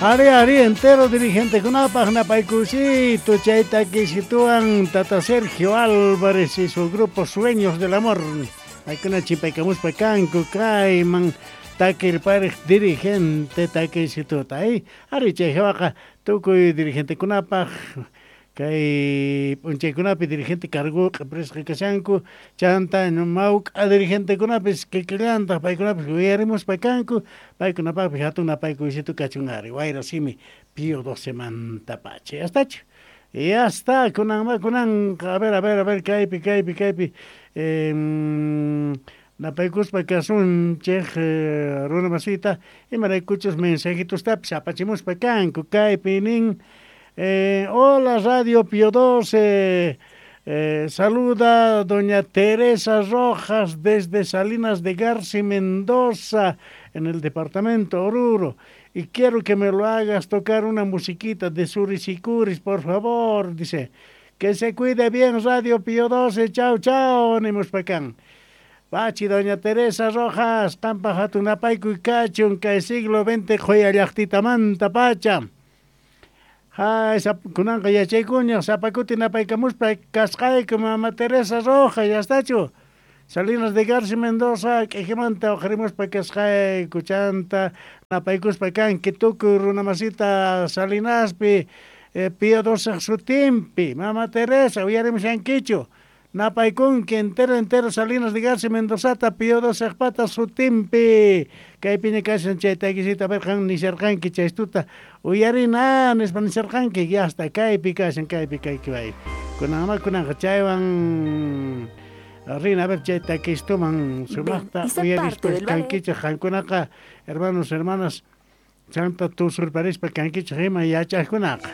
Ari, ari, entero dirigentekunapaj napaykusito, chay takisituan Tata Sergio Álvarez y su grupo Sueños del Amor. Paykuna chimpaykamuspa kanku kayman takirparej dirigente takisituta. Ay, ari, chay jawaqa tukuy dirigentekunapaj kay p'unchaykunapi dirigente carguqa presqa kashanku chanta mawk'a dirigentekunapis kikillantaq paykunapis uyarimuspa kanku paykunapaqpis hatun napaykuysito kachun ari wayra simi Pío XII-mantapacha. Ya estachu. Ya está, kunanma kunanqa, a ver, a ver, a ver, kaypi, kaypi, kaypi, napaykuspa kasunchej runa masita, imaraykuchus mensajitostapis apachimuspa kanku, kaypi nin, hola Radio Pío XII, saluda doña Teresa Rojas desde Salinas de Garci, Mendoza, en el departamento Oruro, y quiero que me lo hagas tocar una musiquita de Surisicuris, por favor, dice, que se cuide bien Radio Pío XII, chao, chao, nimuspacán. Pachi, doña Teresa Rojas, qampa hatun napaykuy kachun, kay siglo XX qhuyallaqtitamanta pacha. Hay, kunanqa yachaykuña, sapa kuti napaykamuspa kasqayku, mama Teresa Rojas, ya estachu. Salinas de Garci Mendoza, k'ijimanta uqharimuspa kasqayku, chanta napaykuspa kanki tukuy runamasita Salinaspi, Pío XII sutinpi, mama Teresa, uyarimushankichu. Napaykunki entero, entero Salinas de Garci Mendozata, Pío XII pata sutinpi. Kaypiña kashan chay takisita, a ver, qan nisharqanki chaystuta, uyarina, nispa nisharqanki, ya hasta kaypi kashan, kaypi, kaypi, kaypi. Kunanma, kunanqa chaywan rina, a ver, chay takistuman sumaqta Ven y sé parte uyarispa del ballet. kankichej qankunaqa, hermanos, hermanas, chanta tusurparispa kankichej ima yachajkunaqa.